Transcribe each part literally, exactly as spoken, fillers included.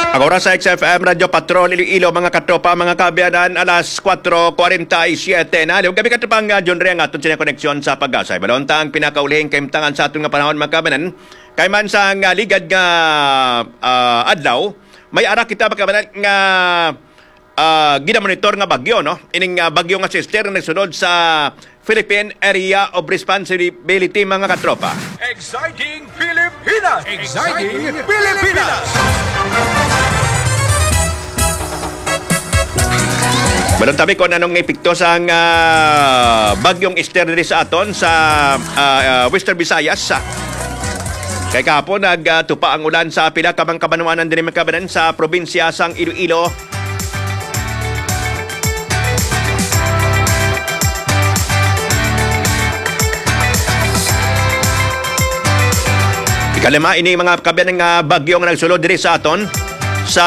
Ang oras sa X F M Radyo Patrol Iloilo, mga katropa, mga kaabyanan, alas kuwatro kuwarenta y siyete na. Liwag kami, katropang, ah, John Ray, ang aton sini koneksyon sa Pag-asa. Ibalon ta ang pinakaulihing kahimtangan sa aton nga panahon, mga kaabyanan. Kay man sa nga ligad nga, ah, adlaw, may ara kita, mga kaabyanan, nga, ah, ginamonitor nga bagyo, no? Ining, ah, bagyo nga Sister nga nagsulod sa Philippine Area of Responsibility, mga katropa. Exciting Pilipinas! Exciting Pilipinas! Balon tabi kung anong epekto sang, ah, Bagyong Esther diri sa aton sa, ah, ah, Western Visayas. Kay kahapon nagtupa ang ulan sa pila ka mga kabanwanan diri, mga kaabyanan, sa probinsya sang Iloilo. Ikalima ini, mga kaabyanan, nga bagyo nga nagsulod diri sa aton sa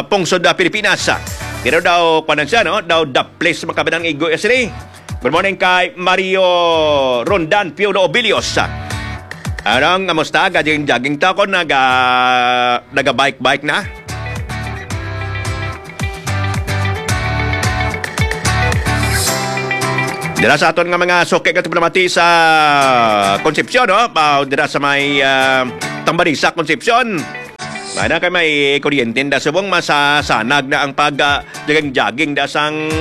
pungsod, ah, Pilipinas. Pero daw, kuwan siya, no? Daw daplis, mga kaabyanan, igo sini. Good morning kay Mario Rondan Piolo Obilios. Anong, kamusta? Gajing-jaging ta ko, naga, naga-bike-bike na? Dira sa aton nga mga suki nga tigpalamati sa Concepcion, no? Pa, dira sa may, ah, Tambanisa, Concepcion. May na kay may kuryente da subong masasanag na ang pag, ah, jogging-jogging da sang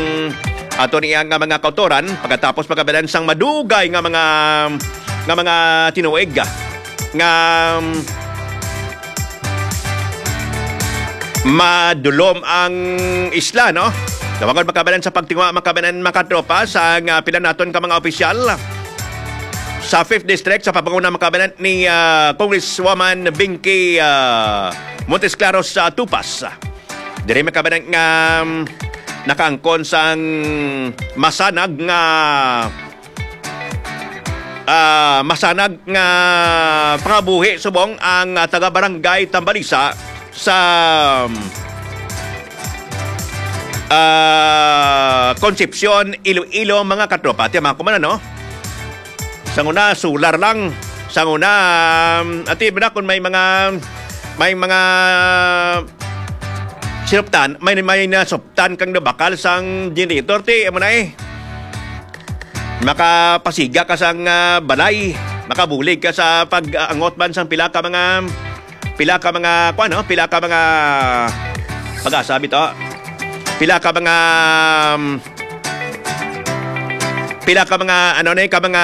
ato niya nga mga kautoran pagkatapos pagkabalan sang madugay nga mga, nga mga tinuig, ah, nga, um, madulom ang isla, no? Dawagon makabalan sa pagtingwa, makabalan, makatropa sa nga pila naton ka mga opisyal sa Fifth District sa pagpanguna, makabalan ni, ah, Congresswoman Binky, ah, Montesclaros sa Tupas. Diri makabalan nga, um, nakaangkon sang masanag nga, ah, masanag nga pangabuhi subong ang, ah, taga-barangay Tambalisa sa, ah, Concepcion, Iloilo, mga katropa. Ati, mga kumana, no? Sang una, solar lang. Sang una, um, ati, ba na kung may mga, may mga sinuptan, may, may nasuptan kang nabakal sang generator, ti, amo na eh. Makapasiga ka sang, ah, balay, makabulig ka sa pag-angot man sang pila ka mga, pila ka mga, kuwan, no? Pila ka mga, pag-asa bito. Pila ka mga, um, pila ka mga, ano na yun, ka mga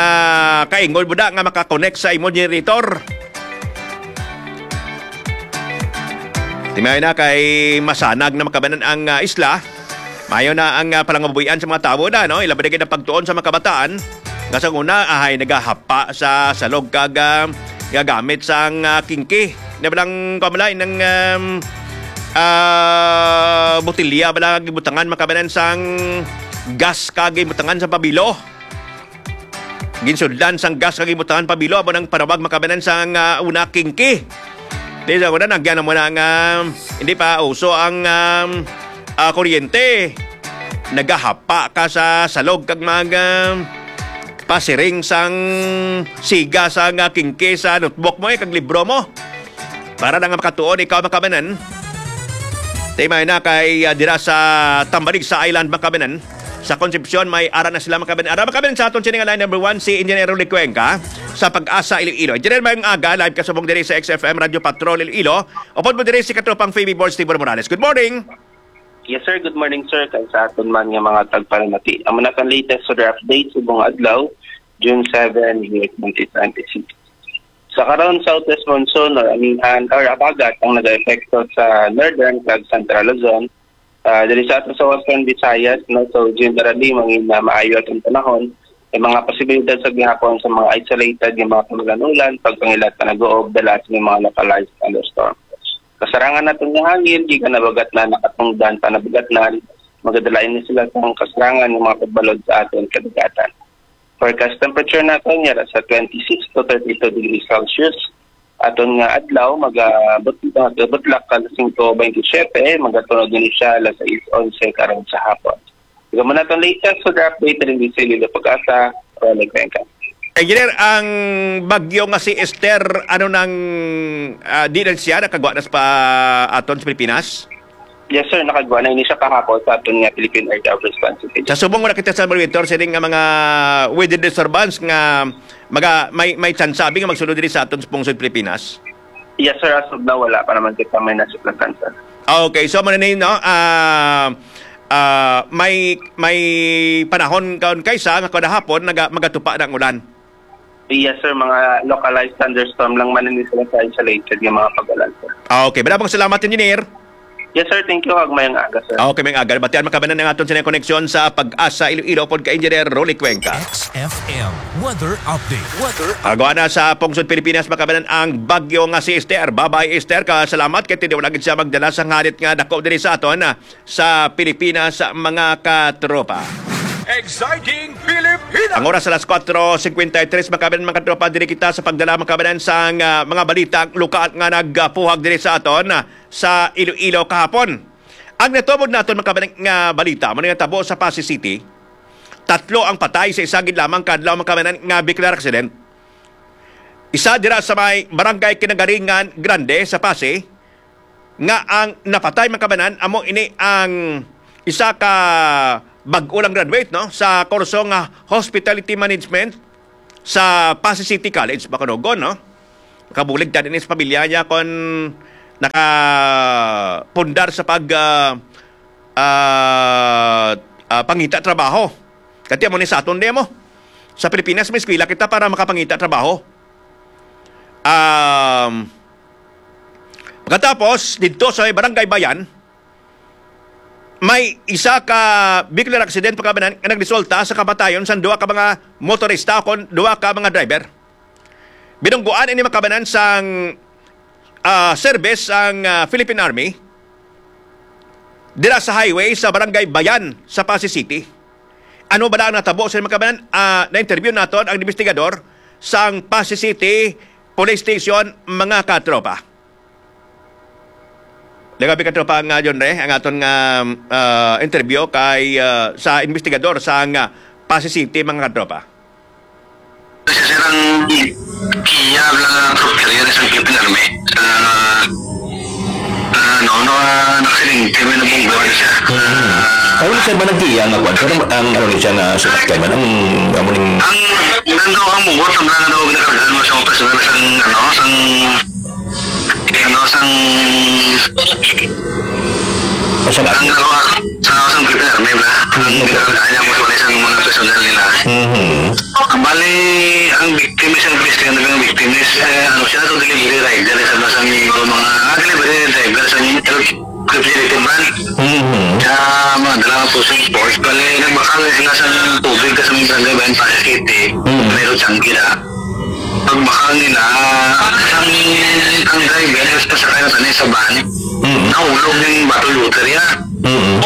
kaingol mo da nga makakonect sa imo generator. Timayo na kay masanag na makabanan ang, ah, isla. Mayo na ang, ah, palangabuhian sa mga tawo na, no? Ilabi na gid ang pagtuon sa mga kabataan nga sa una, ahay, nagahapa sa salog kag, ah, gagamit sang, ah, kingki. Na balang kamalay ng, um, ah, botilya bala gibutangan makabanan sang gas kag gibutangan sa pabilo. Ginsudlan sang gas kag gibutangan pabilo amo nang panawag makabanan sang, ah, una, kingki. Di sa una, nagyan na mo na nga hindi pa uso ang, um, ah, kuryente. Nagahapa ka sa salog kag mag, um, pasiring sang siga sang, ah, kingki sa notebook mo, eh, kag libro mo. Para lang makatuon ikaw, makabanan. Timay na kay, ah, dira sa Tambalig sa Island, makabanan. Sa Concepcion, may ara na sila, makabanan. Ara, makabanan, sa aton sini nga line number one, si Engineer Rolly Cuenca sa Pag-asa, Iloilo. Engineer, mayong aga, live ka subong diri sa X F M Radio Patrol, Iloilo. Upod mo diri si Katropang Phoebe Born, Steve Morales. Good morning. Yes, sir. Good morning, sir. Kay sa aton man nga mga tagpalamati. Amo na kang latest weather update subong adlaw, June seven, year twenty twenty-six. Sa karon, southwest monsoon or amihan or abagat ang nagaepekto sa northern kag central Luzon. Ah, diri sa ato sa Western Visayas, no, so generally, mangin na maayo atong panahon. May mga posibilidad sa gihapon sa mga isolated nga mga kamulan-ulan, pagpangilat pa nag-uob, dalas may mga localized thunderstorm. Kasarangan naton nga hangin, gikan nabagatnan, nakatungdan pa nabagatnan, magadala ini sila sang kasarangan nga mga pagbalod sa aton kadagatan. Forecast temperature naton yara sa twenty-six to thirty-two degrees Celsius. Aton nga adlaw, magabut-, magabutlak ka alas singko bente siyete, magatunog ini siya alas sais onse karon sa hapon. Ikaw mo naton latest weather update rin di sa Iloilo Pag-asa, Ronald Cuenca. Engineer, ang bagyo nga si Esther, ano nang, ah, di na siya nakagwa na sa pa aton sa Pilipinas? Yes, sir. Nakagwa na ini siya kahapon sa aton nga Philippine Area of Responsibility. Sa subong wala kita sa monitor, sining nga mga weather disturbance nga maga-, may, may tsansa abi nga magsulod diri sa aton sa pungsod Pilipinas? Yes, sir. As of now, wala pa naman kita may nasip na tsansa. Ah, okay. So, mananayin, no? Ah, ah, may, may panahon kaon kaysa nga kada hapon naga-, magatupa na ang ulan. Yes, sir. Mga localized thunderstorm lang man ini sila sa isolated nga mga pag-ulan, sir. Ah, okay. Madamong salamat, Engineer. Yes, sir. Thank you. Kag mayong aga, sir. Ah, okay, mayong aga. Batian makabanan ang aton sini koneksyon sa Pag-asa Iloilo pod kay Engineer Rolly Cuenca. X F M weather update. Weather. Agwa na sa pungsod Pilipinas makabanan ang bagyo nga si Esther. Babay Esther, ka salamat kay tiniwala gid siya magdala sa ngarit nga dako diri sa aton, ah, sa Pilipinas, mga katropa. Exciting Pilipinas! Ang oras alas kuwatro cincuenta y tres, makabanan, mga katropa, diri kita sa pagdala, makabanan, sang, ah, mga balita lokal nga nagpuhag diri sa aton, ah, sa Iloilo kahapon. Ang natubod naton, makabanan, nga balita, mao ni natabo sa Passi City. Tatlo ang patay sa isa gid lamang ka adlaw, makabanan, nga vehicular accident. Isa dira sa may Barangay Kinagaringan Grande sa Passi, nga ang napatay, mga kabanan, amo ini ang isa ka bag-o lang graduate, no, sa kurso nga Hospitality Management sa Passi City College, Bacanogon, no? Nakabulig ta din sa pamilya niya kon nakapundar sa pag, ah, ah, ah, pangita trabaho. Kati amo ni sa aton, di mo? Sa Pilipinas, may eskwela kita para makapangita trabaho. Um, pagkatapos, didto sa may Barangay Bayan, may isa ka vehicular accident, pagkabanan, nga nagresulta sa kamatayon sang duha ka mga motorista kon duha ka mga driver. Binungguan ini, makabanan, sang, ah, service ang, ah, Philippine Army dira sa highway sa Barangay Bayan sa Passi City. Ano bala ang natabo sa, makabanan? Ah, na-interview naton ang investigador sang Passi City Police Station, mga katropa. Nagabi, katropa, nga John Ray, ang aton nga, ah, interview kay, ah, sa investigador sang, ah, Passi City, mga katropa. Kasi, sir, ang Kia lang ang atropello yan, isang Philippine Army. Ah, ah, no, no, ah, nakasilingti, may nabungguan siya. Ah, ano, sir, ba nagkiya nga kwan? Pero ang, ano, ni siya nga sinakyan man, ang, amo ning Ang, nando ang bugot, ang mga daw ginakargahan mo sa mga personal, sang, ano, sang, ano, sang, Sa ang, ano, sa, sang Philippine Army, ba? Ang ginakargahan niya mo sa mga personal nila. Mhm. Bali, ang victim is ang best, ang naging victim is, eh, ano siya, to delivery rider sa mga, mga, ah, delivery driver sa refrigerated van. Mhm. Sa mga dala nga pusong sports, bali, nagbakal sila sa tubig sa mga barangay ba yung Pasay City. Mhm. Pero tiyanggi na. Pagbakal nila, ang, ang driver, mas pasakay na tayo sa van. Mhm. Nahulog yung bottle water niya. Mm.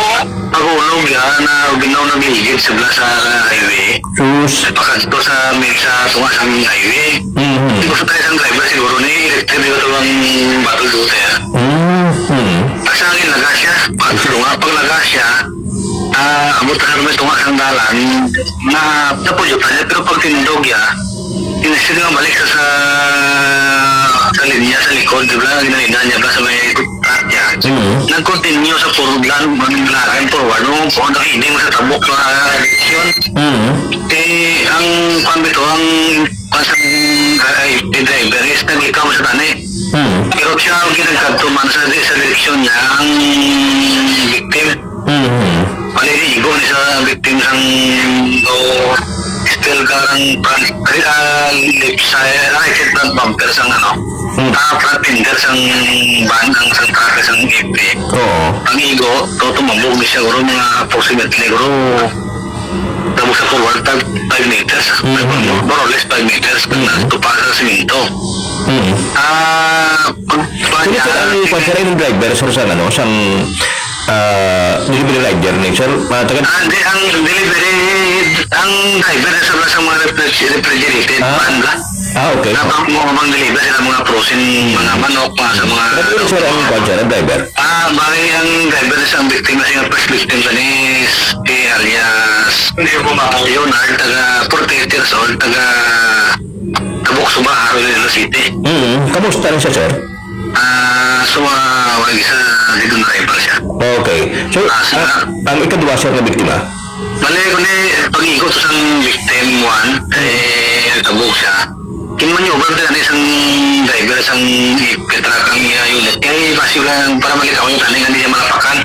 Pag-ulog yan, na binaw nagligid sila sa highway. Sus. Pakadto sa may sa tunga sa highway. Mm. Hindi ko sa tayo isang driver siguro ni electric dito ang battle dito ya. Mm. Asa ang laga siya? Pag tunga, pag laga siya, ah, abot na may tunga sa dalan, na napudyutan niya, pero pag tindog ya, Inisip nga balik sa, sa, sa linya sa likod, di ba? Ginalina niya ba sa may truck niya? Mm. Nag-continue sa forward lang, maglagan forward. Nung po, nakiling sa tabok na direksyon. Mm. Eh, ang pambito, ang pasang driver is nag-ikaw sa tani. Mm. Pero siya ang ginagkadto man sa, sa direksyon niya, ang victim. Mhm. Maliligo ni sa victim sang, o, still karang front, ah, left side, right side front bumper sang, ano, Mm. ah, front fender sang van, ang sang truck, sang F P. Oo. Ang igo, to, tumambog ni siya, guro, mga approximately, guro, tapos sa forward, five, five meters. Mhm. More or less five meters, pag Mhm. natupa sa simento. Mhm. Ah, pag, pag, Kung ito ang ah, kwan, sir, yung driver, sir, sang, ano, sang, ah, delivery rider ni sir, mga taga- Ah, hindi, ang delivery, ang driver na sa, sa mga refriger-, refrigerated Ah. van ba? Ah, okay. Na pang, mga pang-deliver sila mga frozen, mga manok, mga sa mga Pero yun, sir, ang kwan, sir, ang driver? Ah, bali ang driver sa ang biktima, siya first victim sa ni si alias Leonard, taga forty-eight years old, taga Tabok, Suba, Iloilo City. Mm. Kamusta rin siya, sir? Ah, so, ah, wala isa, dito na driver siya. Okay. So, Ah, sila ang, ang ikaduha, sir, na biktima? Bali, kundi, pag-igo to sang victim one, eh, nagtabog siya. Kinmanyoban ta gani sang driver sang Petra ang iya unit. Kay basi lang para malikaw yung taning, hindi siya malapakan.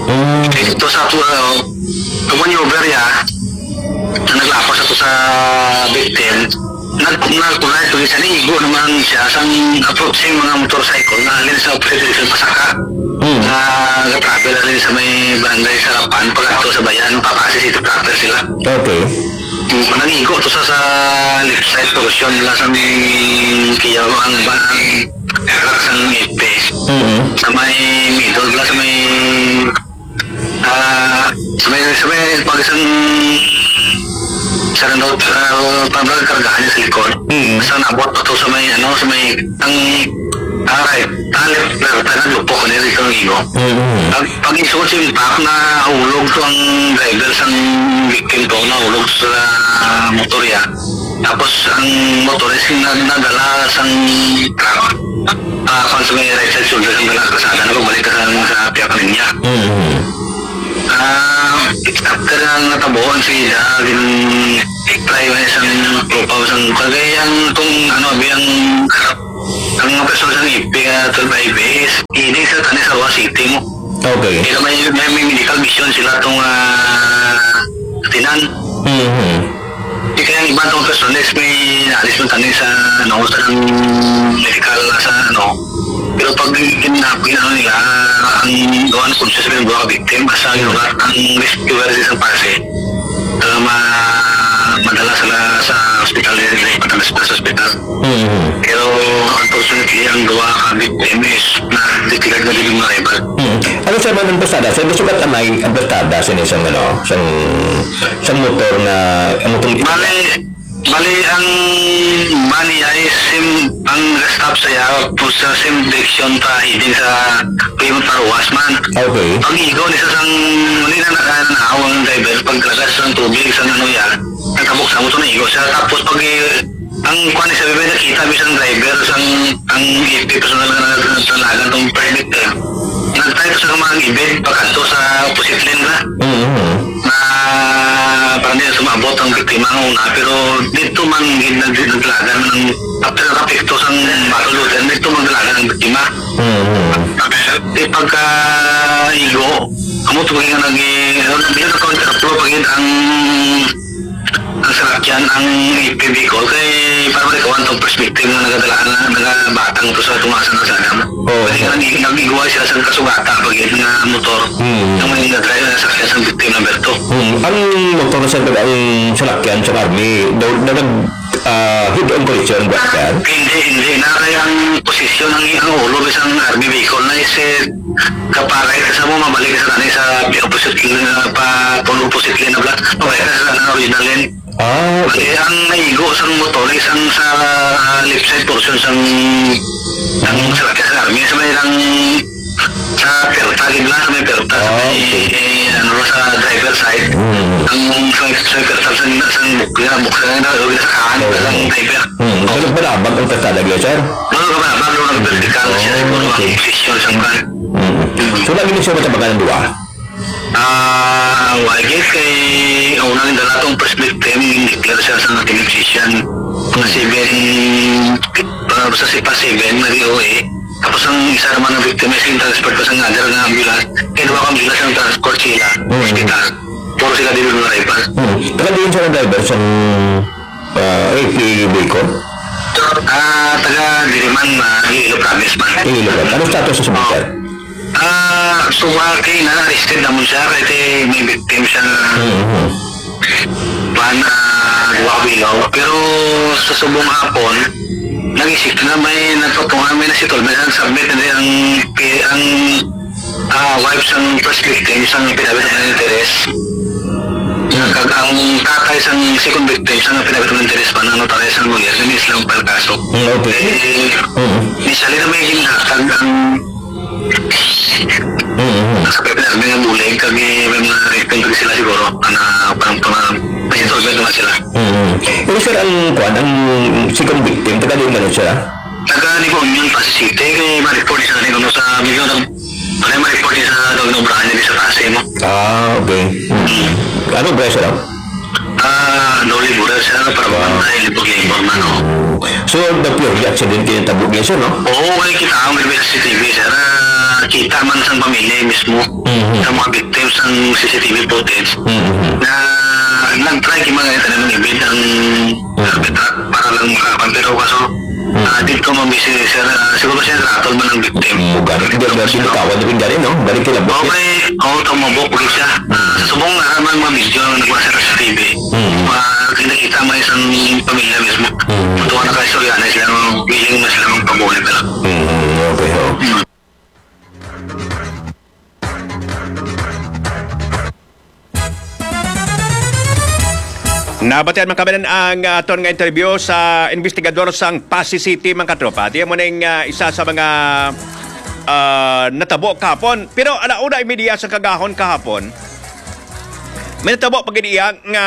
Mm. Kay ito sa ato, ano, pag-maneuver niya, na naglapas ato sa victim, nag-, nag-, nag-, siya, naigo naman siya sang approaching mga motorcycle na halin sa opposite direction pasaka. Mm. Na nag-travel halin sa may barangay Sarapan, pag-ato sa bayan, papasi sa ito proper sila. Okay. Mm, nag-igo to sa, sa left side portion nila sa may kiyaw ang ba-, ang truck sa may F P S. Mm-hmm. Sa may middle nila, sa may, ah, sa may, sa may pag isang, sa ano, ah, parang kargahan niya sa likod. Mm-hmm. Basta naabot pa to sa may, ano, sa may, ang, ah, right, ah, left, left, left, lupok ko nila dito ng igo. Mm-hmm. Pag, pag isuot yung impact, nahulog to ang driver sang victim to, nahulog sa motor ya. Tapos ang motor is na, nadala sang truck. Ah, kung sa may right side shoulder, ang dala kasada na pagbalik ka sa, sa piyak niya. Mm-hmm. Ah, after ang natabuan si Ida, gin-try mo isang tropa, isang kagayang kung ano, abi ang Ang mga persona sa F P S, ah, twelve I P S, ini sa tani sa Roa City mo. Okay. Kaya may, may, may medical mission sila tong, ah, tinan. Mhm. Di kaya ang iba tong persona is may naalis man tani sa, ano, sa ng medical, sa, ano. Pero pag gin-, gin-, ano nila, ang gawa ng conscious ng mga victim, basta yung ang rescuer sa isang pase, ah, ma-, madala sila sa hospital, eh, madala sila sa hospital. Mm. Pero, unfortunately, ang duha ka victim is na-declare na dili mga rival. Mm. Ano, sir, man ang pasada? Sir, gusto ka tanay ang pasada sa isang, ano, sang, sang motor nga, ang motor Bali, bali, ang van niya is sim-, ang stop sa iya, po sa same direction pa, heading sa Plymouth Paruwas man. Okay. Pag-igo ni sa sang, hindi na naka-, naaw ang driver, paglagas ng tubig, sa ano yan, nagkabuksan mo ito, naigo siya. Tapos, pag i-, Ang kuwan ni sa bibig, nakita mi sang driver, sang, ang F P personal nga nag-, nagdalagan tong permit, eh. Nag-try to sa mga ibid, pagkadto sa opposite lane na. Mm-hmm. Na parang di na sumabot ang biktima nga una, pero dito man gid nag-, nagdalagan ang after ng apekto sang battle looter, dito magdalagan ang biktima. Mm-hmm. Di pagka igo, amo to nga nag-, ano, di na counter flow, pag ang ang salakyan, ang F P V call kay para malikawan tong perspective nga nagadala na, nagabatang to sa tunga sa kalsada mo. Oo. Pwede nga nag-, nag-igway sila sa kasugata pag yun nga motor. Hmm. Ang mga nag-drive na sakyan sa victim number two. Hmm. Ang motor sa ang salakyan sa army, daw, daw nag, ah, head-on collision ba yan? Hindi, hindi. Na kaya ang posisyon, ang, ang ulo, isang army vehicle na is, eh, Kaparay, kasama mo, mabalik sa tanay sa opposite lane, ah, pa, pa opposite lane na block. Pabalik ka sa tanay original lane. Ah, okay. Kasi ang naigo sang motor is ang sa, ah, left side portion sang, sang sa, sa army. Sa may lang, sa perta, gid lang, sa may perta, sa Ah, may, okay. eh, ano, sa driver side. Mm. Ang sa, sa may perta, sa, sa bukla, bukla na, o sa kanan, Okay. sa driver. Mm. Pero malabag ang kalsada, sir? Ano ka ba? Bago nag-vertical siya, Oh, siguro ang okay. posisyon sa kan. Mm. So, lagi na siya matabakan ng duwa? Ah, wa gyud kay una nang dala tong first victim, declare siya sa nating musician. Mga seven, ah, basta si pa seven, nag-O A. Tapos ang isa naman ng victim is in transport pa sa other nga ambulance. Kaya duha ka ambulance ang transport sila, Mm. hospital. Puro sila dili mga driver. Mm. Taga diin siya ng driver sa, ah, A P Bicol? Ah, taga Diliman, ah, Iloilo Province man. Iloilo Province. Anong status sa sumiter? Ah, so, ah, kay na-arrested naman siya, kay, kay may victim siya. Mm-hmm. Pan, ah, duha ka bilaw. Pero sa subong hapon, nag-isip na may nagpatunga, may na-settlement, ang submit na ang, ang, ah, wife sang first victim, sang pinabit ng interes. Mm. Kag ang tatay sang second victim, sa nga pinagkatunan interes pa, na notarized ang lawyer, kami sila ang palkaso. Mm, okay. Eh, Mm. initially na may ginhatag ang Mm. sa P P R, may nga bulig, kag may, may mga victim kag sila siguro, ana, parang, parang, may installment naman sila. Mm. Pero, sir, ang, kuwan, ang second victim, taga diin gani siya? Taga Negros Union, Passi City, kay ma-report siya ni kuno sa, medyo nag-, wala ma-report siya sa nag-, naobrahan niya sa Passi, no? Ah, okay. Hmm. Ano ba siya, no? Ah, no, libura siya, no? Para Wow. Pamantay, libog yung informa, no? So, the pure accident kaya tabo niya, sir, no? Oo, kay kita ang may C C T V, sir. Ah, kita man sa pamilya mismo, Mhm. sa mga victims ang C C T V footage, Mhm. na nag-try yung mga ito na mga ibig ang Mm. Sa Petrat, para lang makapan. Pero kaso, Mm. ah, dito mambisi, sir, ah, siguro siya ratol man ang victim. Mm, gani. Hindi, hindi, hindi, kawan na rin gani, no? Balik kila bukit. Okay, oo, tumabok ulit siya. Ah, sa subong nga naman mga video ang nagwa sa T V. Mm. Ma-, nakita mo isang pamilya mismo. Mm. Tuwa na kayo, yan, sila ang willing na sila magpabuli na lang. Mm, okay, ho. Mm. Nabatian man kami ang, ah, aton nga interview sa investigador sang Passi City, mga katropa. Di mo ning, ah, isa sa mga, ah, natabo kahapon. Pero ala una y media sa kagahon kahapon, may natabo pa gid iya nga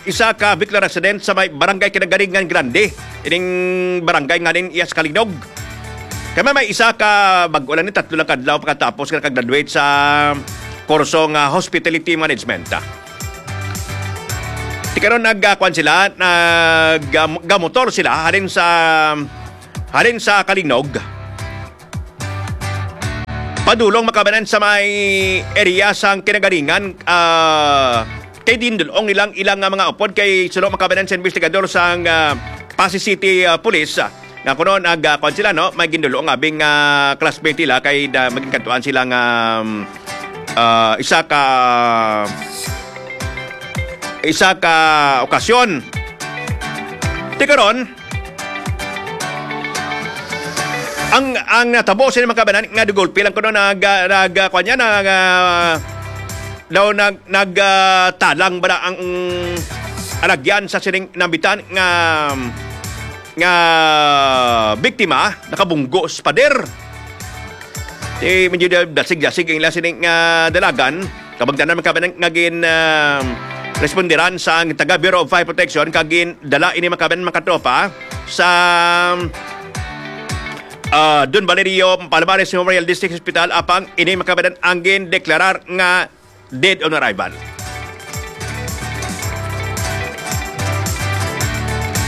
isa ka Bicol resident sa may barangay Kinagaringan Grande. Ining barangay nga nin iya sa Kalinog. Kay may, may isa ka bag-o lang ni, tatlo lang kadlaw pagkatapos nga nakagraduate sa kurso nga hospitality management. Ti karon nag, ah, kuwan sila, nag, ah, gamotor sila halin sa, halin sa Kalinog. Padulong makabanan sa may area sang Kinagaringan, ah, kay dindulong nilang ilang nga mga upod kay suno makabanan sa investigador sang, ah, Passi City, ah, Police, ah, nga kuno nag, ah, kuwan sila, no? May gindulong abing, ah, classmate nila kay da-, maging kadtuan sila nga, um, ah, isa ka, isa ka okasyon. Ti karon, ang, ang natabo sa mga kabanan nga dugulpi lang kuno nag, ah, nag, ah, kuwan niya, nag, ah, daw nag, nag, ah, talang ba na ang alagyan sa sining nambitan nga, nga biktima, nakabunggo sa pader. Ti medyo da-, dasig-dasig ang ila sining, ah, dalagan. Kabangdanan man kabanan nga gin, ah, responderan sa ang taga Bureau of Fire Protection kag gindala ini makabanan mga katropa sa, ah, Don Valerio Palomares Memorial District Hospital, apang ini makabanan ang gindeklarar nga dead on arrival.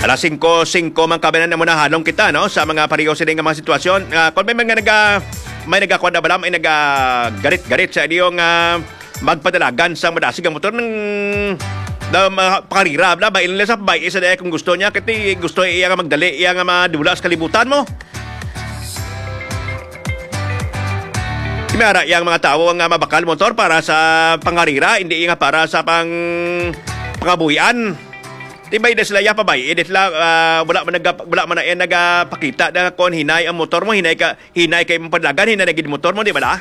Alas singko singko man kabanan na muna halong kita, no, sa mga pareho sini nga mga sitwasyon. Ah, kung may mga naga-, may nagakuha na bala, may nagagarit-garit sa inyo nga magpadalagan sa madasig ang motor ng, na mga pangarira, bala, bail nila sa babae sa daya kung gusto niya, kasi gusto iya nga magdali, iya nga madula sa kalibutan mo. May ara yang mga tawo nga mabakal motor para sa pangarira, hindi nga para sa pang pangabuhian. Di ba, ida sila ya pa ba? Ida sila, ah, wala man naga-, wala man na, eh, nagapakita na kon hinay ang motor mo, hinay ka, hinay kay mong padlagan, hinay na gid motor mo, di ba la?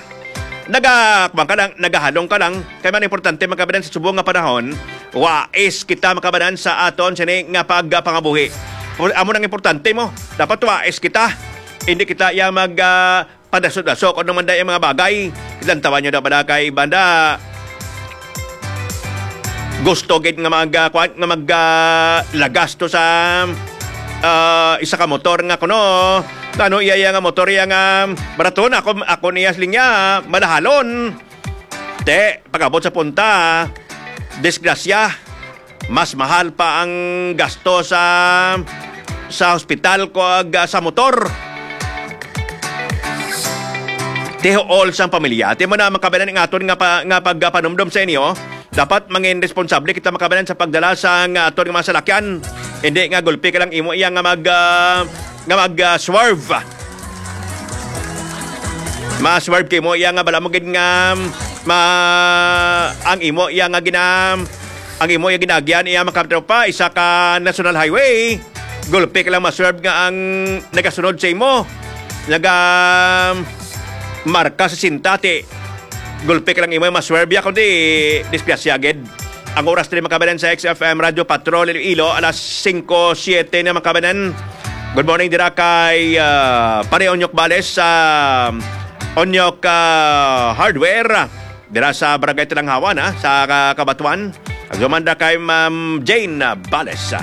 Naga, kuwan ka lang, nagahalong ka lang. Kay man importante, makabanan sa subong nga panahon, wais kita makabanan sa aton sini nga pagpangabuhi. Amo nang importante mo. Dapat wais kita. Hindi kita ya mag, ah, padaso-daso kung ano man dahil ang mga bagay. Lantawan nyo na pala kay banda. Gusto gid nga mag, ah, kuwan, nga mag, ah, lagas to sa, ah, isa ka motor nga kuno. Ano iya, iya nga motor iya nga barato na ako, ako niya sa linya, malahalon. Te, pag-abot sa punta, disgrasya, mas mahal pa ang gasto sa, sa hospital ko ag, ah, sa motor. Tihool sang pamilya. Ti mo na makabanan ang aton nga pa, nga pagpanumdom sa inyo. Dapat mangin responsable kita makabanan sa pagdala sa nga aton nga mga salakyan. Hindi nga gulpi ka lang imo iya nga mag, ah, nga mag, ah, swerve. Ma-swerve kay mo iya nga bala mo gid nga ma-, ang imo iya nga gina-, ang imo iya ginagyan iya makatropa isa ka national highway. Gulpi ka lang ma-swerve nga ang nagasunod sa imo. Naga marka sa sinta ti gulpi ka lang imo ma-swerve ya kundi disgrasya gid. Ang oras diri, mga kababayan, sa X F M Radyo Patrol Iloilo, alas singko siete na, mga kababayan. Good morning dira kay, ah, Pare Onyok Bales sa Onyok, ah, Hardware, dira sa Barangay Talanghawan, ha, sa Ka-, Cabatuan. Ag human da kay Ma'am Jane Bales.